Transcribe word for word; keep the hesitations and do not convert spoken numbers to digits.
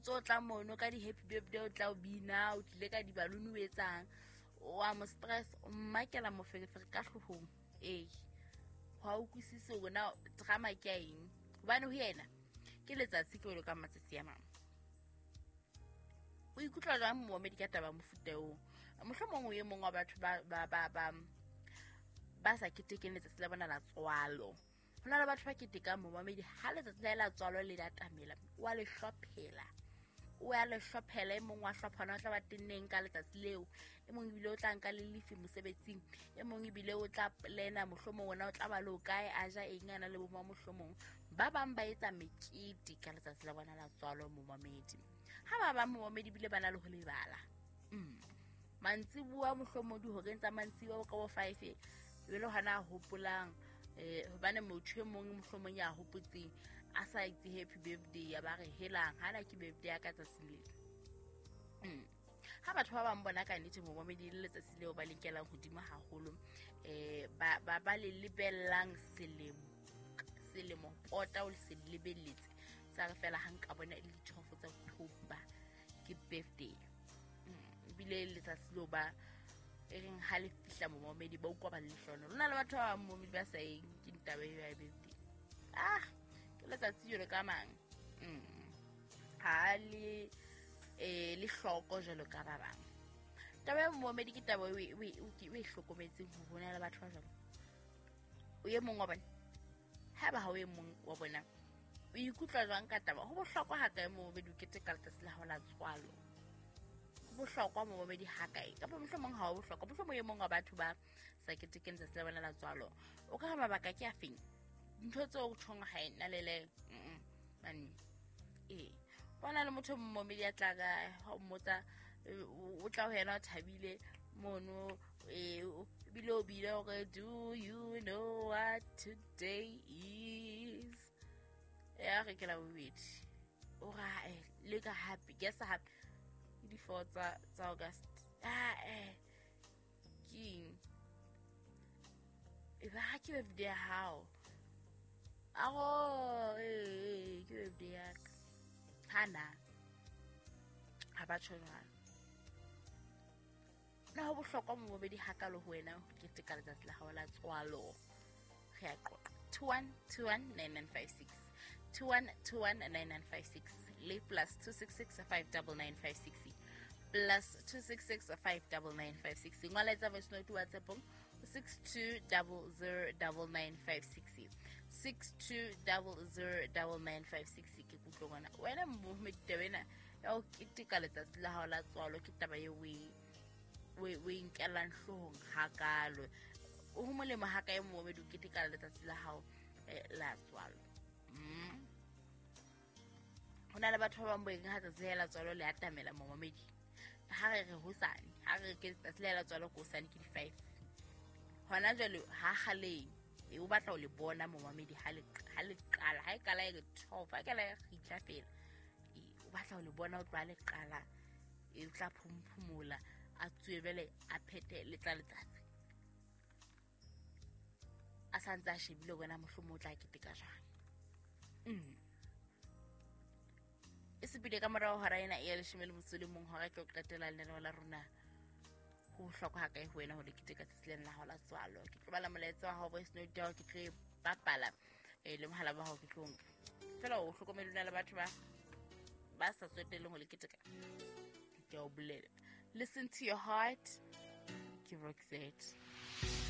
ntso tla mono ka di-happy birthday, o tla o bina, o tlile ka dibaluni, o etsang, wa mo stress, o mmakela moferefere ka hloohong. Ee, ha o utlwisise hore na drama ke ya eng, hobane ho yena ke letsatsi ke jwalo ka matsatsi a mang. O ikutlwa jwang momamedi ka taba mofuta oo? Mohlomong o e mong wa batho ba ba ba ba ba sa ketekeng letsatsi la bona la tswalo. Ho na le batho ba ketekang momamedi ha letsatsi la la tswalo le atamela, wa le hlophela, o ya le hlophela. E mong wa hlophana o tla ba tenneng ka letsatsi leo, e mong ebile o tla nka le lefi mosebetsing, e mong ebile o tla plana mohlomong ona o tla ba le o kae, a ja eng, a na le boma mohlomong. Ba bang ba etsa mekete ka letsatsi la bona la tswalo momamedi. Ha ba bang momamedi ebile ba na le ho lebala. Mm. Mantsibuwa mohlomong dihoreng tsa mantsibuwa ka bo five, ebe le hona a hopolang, eh hobane motho e mong mohlomong ya hopotseng a sa itse happy birthday, ya ba re helang hana ke birthday ya ka tsatsing lena. Mm. Ha batho ba bang bona ka nnete momamedi le letsatsi leo ba le nkelang hodimo haholo, eh ba ba ba le lebellang selemo selemo pota o se lebelletse, tsa re fela ha nka bona e le di-twelve tsa October ke birthday. Mm, ebile letsatsi leo ba e reng ha le fihla momamedi ba utlwa ba le lehlohonolo. Ho na le batho ba bang momamedi ba sa eng ke ntaba eo ya birthday. Ah, ke letsatsi jwalo ka mang. Mm. Ha le eh le hloko jwalo ka ba bang. Taba ya momamedi ke taba eo e, e, e, e hlokometseng hore ho na le batho ba jwalo. O e mong wa bona, haeba ha o e mong wa bona, o ikutlwa jwang ka taba? Ho bohlokwa ha kae momamedi o keteka letsatsi la hao la tswalo? Ho bohlokwa momamedi ha kae? Kapa mohlomong ha ho bohlokwa, mohlomong e mong wa batho ba sa ketekeng letsatsi la bona la tswalo. O ka re mabaka ke a feng? Ntho tseo o tjhong ha e na le le, mm, mane. Ee, bona le motho momamedi ya tla ka ha o mmotsa, o tla ho yena o thabile mono, eh, ebile o bile hore do you know what today is? Ya re ke la bobedi. O ra, eh, le ka happy, guess happy. Ke di four tsa, tsa August. Ah, eh, ke eng? E ba ha ke birthday ya hao. Aho, eh, ke birthday ya ka. Hana. Ha ba tjho jwalo. Na ho bohlokwa momamedi hakalo ho wena ho keteka letsatsi la hao la tswalo? Re a qoqa. two one two one nine nine five six. two one two one nine nine five six. Le plus two six six five double nine five six. Plus two six six five double nine five six. Ngola etsa voice note WhatsApp-ong six two double zero double nine five six. six two double zero double nine five six. Ke kutlwe ngwana. Wena momamedi taba ena ya ho keteka letsatsi la hao la tswalo ke taba eo o e, o e, o e nkellang hloohong hakalo. Ho molemo ha kae momamedi o keteka letsatsi la hao, eh, la tswalo? Mm. Ho na le batho ba bang bo eng ha tsatsi la tswalo le atamela momamedi. Ha re re hosane, ha re ke tsatsi la tswalo ko hosane ke di five. Hona jwale ha kgaleng, e o batla ho le bona momamedi ha le, ha le qala, ha e qala e re twelve, ha e qala e kgitla fela. E, o batla ho le bona o tloha le qala, e o tla phumphumula, a tswe jwale a phethe le tla letsatsi. A sa ntse a shebile hore na mohlomong o tla keteka jwang. Mm. E sepile ka morao hora ena e ya leshome le motso le mong, hora ke ho qetela lenaneo la rona. Ho bohlokwa ha kae ho wena ho le keteka tsatsi lena la hao la tswalo? Ke tlo bala molaetsa wa hao voice note ya hao, ke tlo e bapala, eh, le mohala wa hao ke tlo nka. Feela o hlokomele na le batho ba, ba sa tsotelleng ho le keteka. Ke a o bolela. Listen to your heart. Ke Roxette.